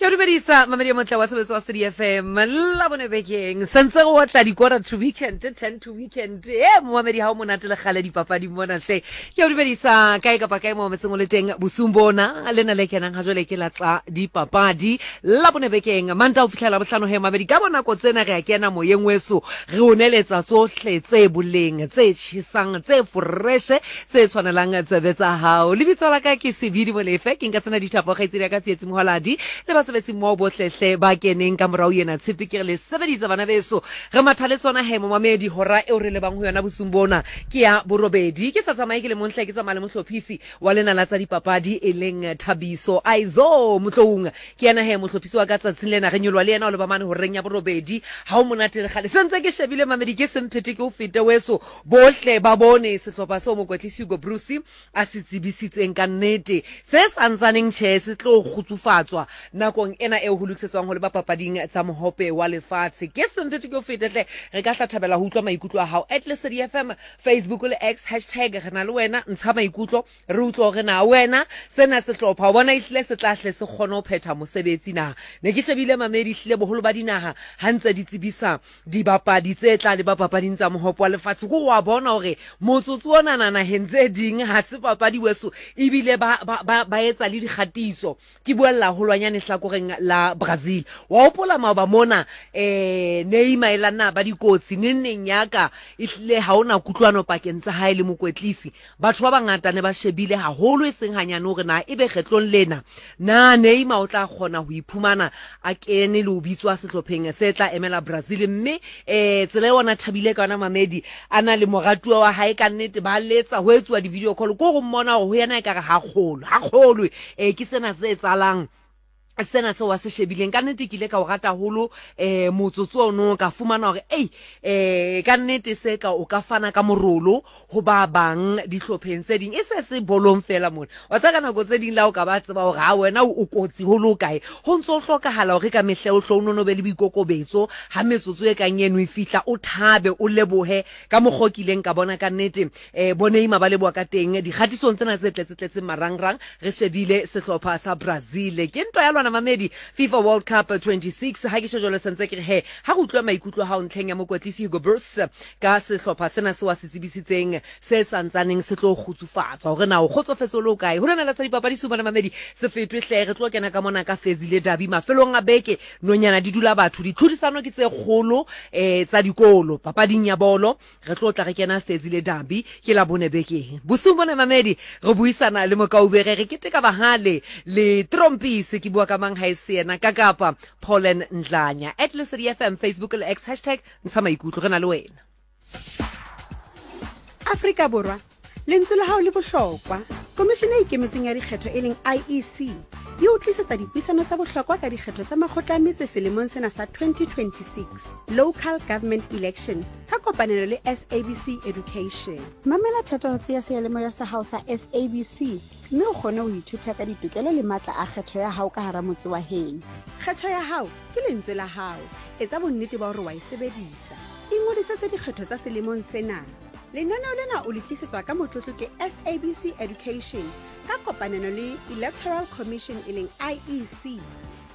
Ke dumedisa mamedi motle wa sebetso wa City FM la bone bekeng sentse go otla di quarter to weekend 10 to weekend e momamedi ha o monate le gale dipapadi mona hle ke o dumedisa kae kapa kae mo metseng o le teng bosung bona lena le kenang ha jwale ke la tsa dipapadi la bone bekeng manta o fihlela bohlano he mamedi ka bonako tsena re a kena moyeng weso re o neletsa tsohle tse boleng tse tjhesang tse foreshe tse tshwanelang tsebe tsa hao. Lebitso la ka ke Sebidi Molefe, ke nka tsena dithapo kgaitsedi ya ka Tsietsi Moholadi le basebetsi mmoho bohlehle ba keneng ka morao ena tshepe ke re le sebeditse bana beso. Re matha le tsona he momamedi hora eo re lebang ho yona bosung bona ke ya borobedi. Ke sa tsamaye ke le mong hle ke tsamaya le mohlophisi wa lena la tsa dipapadi e leng Thabiso Aizo Motloung. Ke yena he mohlophisi wa ka tsatsing lena re nyoloha le yena o leba mane horeng ya borobedi. Ha o monate le kgale. Sentse ke shebile mamedi ke semphete ke o fete weso. Bohle ba bone sehlopha seo mokwetlisi Hugo Broos a se tsebisitseng ka nnete se sa ntsaneng tjhe se tlo kgutsufatswa nakong ena eo ho lokisetswang ho leba papading tsa Mohope wa Lefatshe. Ke semphete ke o fete hle, re ka hla thabela ho utlwa maikutlo a hao. At Lesedi FM, Facebook le X, hashtag re na le wena, ntsha maikutlo re utlwe hore na wena sena sehlopha o bona ehlile se tla hle se kgone ho phetha mosebetsi na. Ne ke shebile mamedi ehlile boholo ba dinaha ha ntse di tsebisa Dibapadi tse tla leba papading tsa Mohope wa Lefatshe ko wa bona hore motsotso onana naheng tse ding ha se papadi weso ebile ba, ba, ba, ba etsa le dikgatiso. Ke buella haholwanyane hlakoreng la Brazil. Wa hopola maoba mona eh Neymar e la nna ba dikotsi neng neng yaka ehlile ha ona kutlwano pakeng tsa hae le mokwetlisi. Batho ba bangata ne ba shebile haholo e seng hanyane hore na ebe kgetlong lena na Neymar o tla kgona ho iphumana a kene le ho bitswa sehlopheng se tla emela Brazil mme eh tsela eo ona thabile ka yona Mamedi a na le moratuwa wa hae ka nnete ba letsa ho etsuwa di-video call ko go mmona hore ho yena e kare ha kgolwe ha kgolwe eh ke sena se etsahalang sena seo a se shebileng ka nnete ke ile ka o rata haholo um motsotso ono ka fumana hore ei um ka nnete se ka o ka fana ka morolo ho ba bang dihlopheng tse ding e se se bolong fela mona wa tsa ka nako tse ding la o ka ba tseba hore ha wena o kotsi ho le kae ho ntse o hlokahala hore ka mehle o hlo o nono be le boikokobetso ha metsotso e kang eno e fihla o thabe o lebohe ka mokgwa o kileng ka bona ka nnete E, bo Neymar ba leboha ka teng dikgatisong tsena tse tletse-tletseng marangrang re shebile sehlopha sa Brazil. Ke ntwa ya lwana mamedi FIFA World Cup 26. Ha ke tjho jwalo sentse ke re he ha re utlwa maikutlo a hao ntlheng ya mokwetlisi Hugo Broos ka sehlopha sena seo a se tsebisitseng se santsaneng se tlo kgutsufatswa hore na o kgotsofetse o le okae. Ho lena la tsa dipapadi sumana mamedi se fetwe hle re tlo kena ka mona ka Fezile Dabi mafelong a beke nonyana di dula batho ditlhodisano ke tse kgolo eh tsa dikolo papading ya bolo Re tlo tla re kena Fezile Dabi ke la bone bekeng. Bosiung bona mamedi re buisana le Mokaubere re keteka bahale le Trompisi ke bua ka mang ha e se yena ka kapa Paulen Ndlanya. At Lesedi FM Facebook le X hashtag ntsha maikutlo re na le wena. Afrika Borwa, lentswe la hao le bohlokwa. Komishene e Ikemetseng ya Dikgetho e leng IEC e o tlisetsa dipuisano tsa bohlokwa ka dikgetho tsa makgotla a metse selemong sena sa 2026, Local Government Elections, ka kopanelo le SABC Education. Mamela thatohatsi ya seyalemoya sa hao sa SABC mme o kgone ho ithuta ka ditokelo le matla a kgetho ya hao ka hara motse wa heno. Kgetho ya hao ke lentswe la hao. Etsa bonnete ba hore wa e sebedisa. Ingodisetse dikgetho tsa selemong sena. Lenaneo lena o le tlisetswa ka motlotlo ke SABC Education ka kopanelo le Electoral Commission e leng IEC.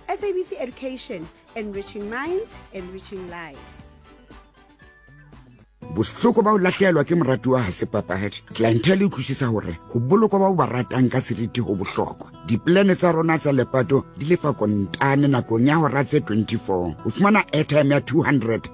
SABC Education, enriching minds, enriching lives. Bohloko ba ho lahlehelwa ke moratuwa ha se papadi. Clientele e utlwisisa hore ho bolokwa ba o ba ratang ka seriti ho bohlokwa. Dipolane tsa rona tsa lepato di lefa kontane nakong ya hora tse 24. O fumana airtime ya 200.